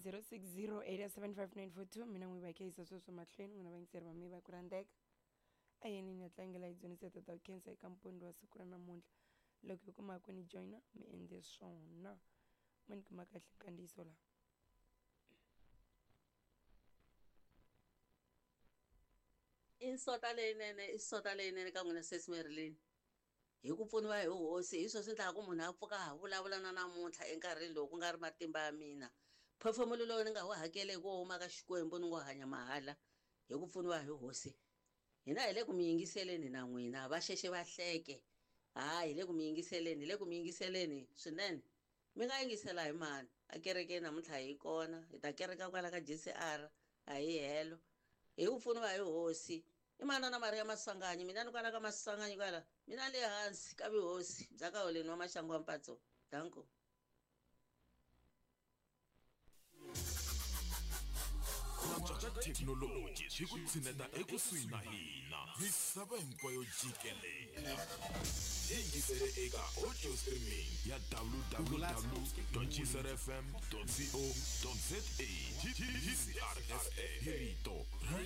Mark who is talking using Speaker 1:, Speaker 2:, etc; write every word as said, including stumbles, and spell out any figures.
Speaker 1: zero six zero eight seven five nine four two mina n'wi va khensa sweswo mahlweni n'wina vayingiseri va mi va ku rhandzeka a yeni ni ya tlangela hi dzunisa tata khensa eka mpondo wa siku ra namuntlha loko hi kuma ku ni joyina mi endle swona mi ni kuma kahle nkandziyiso laha
Speaker 2: I nsota leyinene i sota leyinene ka n'wina sesi Marilyn hi ku pfuniwa hi hosi hi swona swi endlaka ku munhu a pfuka ha vulavula na namuntlha enkarhini lowu ku nga ri matimba ya mina phefemulo lowu ni nga wu hakeli hi ku huma ka Xikwembu ni ngo hanya mahala hi ku pfuniwa hi hosi hina hi le ku mi yingiseleni na n'wina va xexe va hleke hayi hi le ku mi yingiseleni hi le ku mi yingiseleni swinene mi nga yingisela hi mani a kerekeni namuntlha hi kona hi ta kereka kwala ka J C R a hi helo hi ku pfuniwa hi hosi i manana Maria Maswanganyi mina ni kwala ka Maswanganyi kwala mina le hansi ka vuhosi bya ka holeni wa Maxangu wa Mpatso danko.
Speaker 3: Ka thekinoloji swi ku tshineta ekusuhi na hina misava hinkwayo jikelele yingisele eka audio streaming ya w w w dot g c r f m dot co dot z a G C R F M hi rito ra